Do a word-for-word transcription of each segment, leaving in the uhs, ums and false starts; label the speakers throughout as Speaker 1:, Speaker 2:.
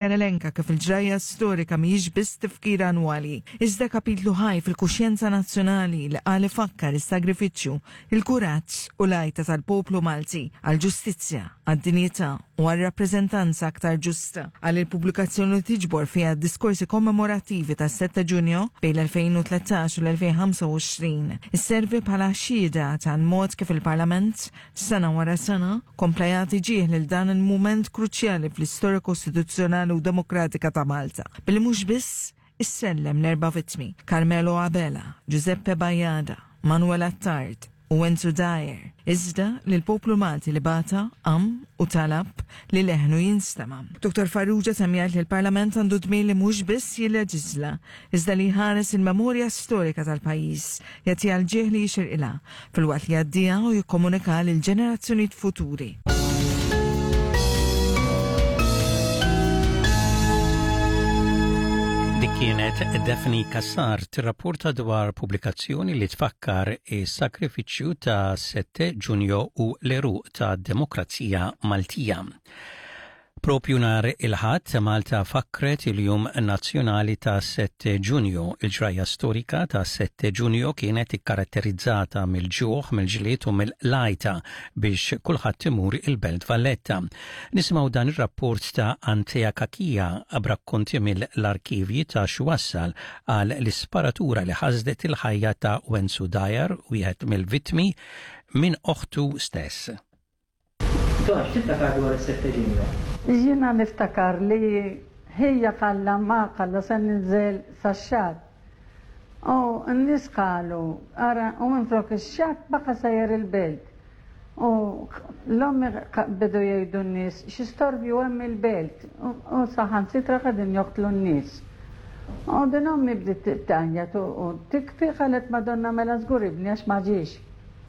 Speaker 1: Elenka kif il-ġrajja storika mhijiex biss tifkira annwali, iżda kapitlu ħaj fil-kuxjenza nazzjonali li qal ifakkar is-sagrifiċċju, il-kuraġġ u l-għajta tal-poplu Malti għall-ġustizzja, għad-dinjità u għal rappreżentanza aktar ġusta. Għal il-pubblikazzjoni tiġbor fiha diskorsi kommemorattivi tas-sette Ġunju bejn l-elfejn u tlettax u l-elfejn u ħamsa u għoxrin isservi bħala xhieda tal-mod kif il-Parlament sena wara sena kompla jagħti ġieħ lil dan il-mument kruċjali fl-istorja kostituzzjonali u demokratika ta' Malta. Billi mhux biss issellem l-erba' vittmi, Carmelo Abela, Giuseppe Bajada, Manuel Attard u Wenzu Dyer, iżda li l-poplu Malti li bata, qam u talab li leħnu jinstema. Dottor Farrugia temm jgħid li l-Parlament għandu dmir li mhux biss jilleġisla, iżda li jħares il-memorja storika tal-pajjiż, jagħtiha l-ġieħ li jixirqilha, filwaqt li jgħaddiha u jikkomunika lil ġenerazzjonijiet futuri.
Speaker 2: Dik kienet Daphne Cassar tirrapporta dwar pubblikazzjoni li tfakkar is-sakrifiċċju ta' sette Ġunju u l-għeruq ta' demokrazija Maltija. Propju nhar il-Ħadd Malta fakret il-Jum Nazzjonali ta' sette Ġunju. Il-ġrajja storika ta' sette Ġunju kienet ikkaratterizzata mill-ġuħ, mill-ġlied u mill-għajta biex kulħadd imur il-Belt Valletta. Nisimgħu dan ir-rapport ta' Antea Cachia b'rakkonti mill-arkivji ta' x'wassal għal l-isparatura li ħasdet il-ħajja ta' Wenzu Dyer, wieħed mill-vittmi, minn oħtu stess.
Speaker 3: Ton, x'tiftakar dwar is-sette Ġunju?
Speaker 4: Jiena niftakar li ħija qalla ma qalla se ninżel sax-xatt. U n-nies qalu, ara, u minflok ix-xatt baqa' sejjer il-belt. U l-ommi bidu jgħidu n-nies, xi storbju hemm il-belt. U saħansitra qegħdin joqtlu n-nies. U din ommi bdiet tgħajjat u tibki, qalet, "Madonna, mela żgur ibni għax ma ġiex."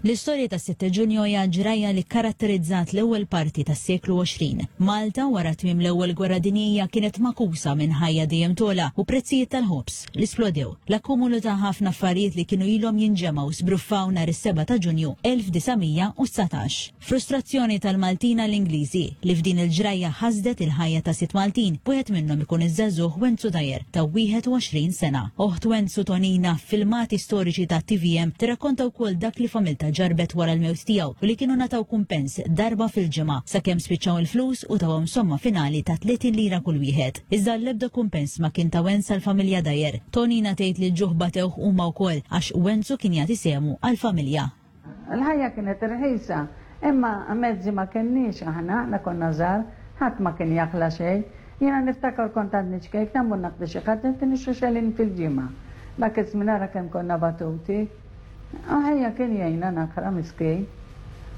Speaker 5: L-istorja ta' sitte Ġunju hija ġrajja li karatterizzat l-ewwel parti tas-seklu għoxrin. Malta wara tmiem l-ewwel gwerra dinjija kienet magħkusa minn ħajja dejjem togħla u prezzijiet tal-ħobż li splodew. L-akkumulu ta' ħafna affarijiet li kienu ilhom jinġemgħu sbruffaw nhar is-sebgħa ta' Ġunju elf disa' mija u dsatax. Frustrazzjoni tal-Maltin l-Ingliżi li f'din il-ġrajja ħasdet il-ħajja ta' sitt Maltin, wieħed minnhom ikun iż-żagħżugħ Wenzu Dyer ta' wieħed u għoxrin sena. Oħt Wenzu, Tonina, filmati storiċi ta' T V M tirrakkonta wkoll dak li familta ġarbet wara l-mewt tiegħu u li kienu ngħataw kumpens darba fil-ġimgħa sakemm spiċċaw il-flus u tawhom somma finali ta' tletin lira kull wieħed. Iżda l-ebda kumpens ma kien ta' wens għall-familja Dyer. Tonina tgħid li l-ġuħ batewh huma wkoll għax Wenzu kien jagħti sehmu għall-familja.
Speaker 4: Il-ħajja kienet irħisa, imma mezzi ma kenniex aħna, aħna konna żgħar, ħadd ma kien jaqla' xejn. Jiena niftakar kont għadni ċkejkna mmur naqdi xi ħadd nixtri xelin fil-ġimgħa. Dak iż-żmien ara kemm konna batuti. Ħija kien jgħinna naqra miskin.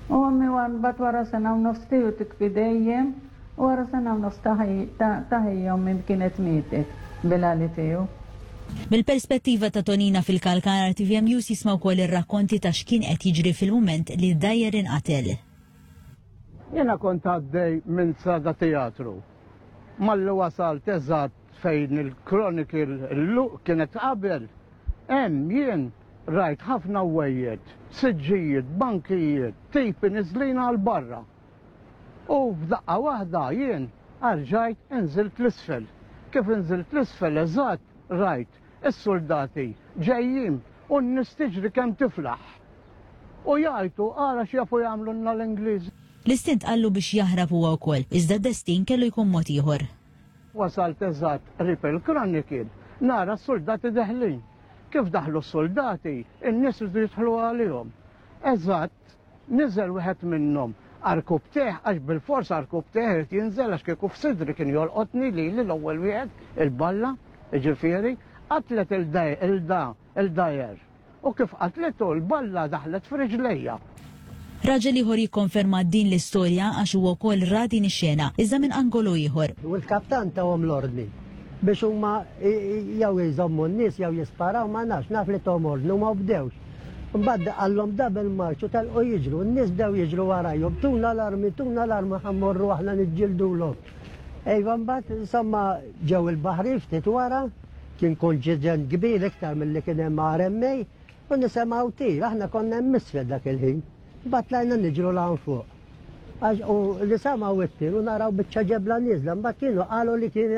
Speaker 4: U ommi mbagħad wara sena u nofs tiegħu tibki dejjem, u wara sena u nofs ta' ħija ommi kienet mietet bil-għali tiegħu.
Speaker 5: Mill-perspettiva ta' Tonina fil-Kalkara, T V M News jisma' wkoll ir-rakkonti ta' x'kien qed jiġri fil-mument li Dyer inqatel.
Speaker 6: Jena kont għaddej minn Strada Teatru. Malli wasalt eżatt fejn il-Chronicle l-luq kienet qabel, hemm jien rajt ħafna wejjed, siġġijiet, bankijiet, tipi niżlin għal barra. U f'daqqa waħda jien erġajt inżilt 'l isfel. Kif inżilt 'l isfel eżatt rajt is-soldati ġejjin u n-nies tiġri kemm tiflaħ. U jgħajtu, "Ara x'jafu jagħmlu l-Ingliżi."
Speaker 5: L-istint qallu biex jaħrab huwa wkoll, iżda d-destin kellu jkun mod ieħor.
Speaker 6: Wasalt eżatt qrib il-Chronicle, nara s-soldati deħlin. Kif daħlu s-soldati, in-nies rridu jidħlu għalihom. Eżatt, niżel wieħed minnhom għarkupptejh, għax bil-fors għarkupptejh irid jinżel, għax kieku f'sidri kien jolqotni li l-ewwel wieħed il-balla, ġifieri, qatlet il-Dyer. U kif qatlitu l-balla daħlet f'riġlejja.
Speaker 5: Raġel ieħor jikkonferma din l-istorja għax huwa wkoll ra din ix-xena, iżda minn angolu ieħor.
Speaker 7: U l-kaptan tahom l-ordni biex huma jew jżommu n-nies jew jisparaw, ma nafx, naf li tahom ordni u ma bdewx. Mbagħad qallhom double march u telqu jiġru, n-nies bdew jiġru warajhom, "Tuna l-armi, tuna l-armi, ħa mmorru aħna niġġildulhom." Ejva, mbagħad insomma ġew il-baħrin ftit wara, kien konġiġent kbir iktar milli kien hemm R M A u nisimgħu tir, aħna konna hemm isfel dak il-ħin. Mbagħad tlajna niġru 'l fuq. U li samgħu it-tir u naraw biċċa ġebla nieżla, mbagħad kienu qalu li kienet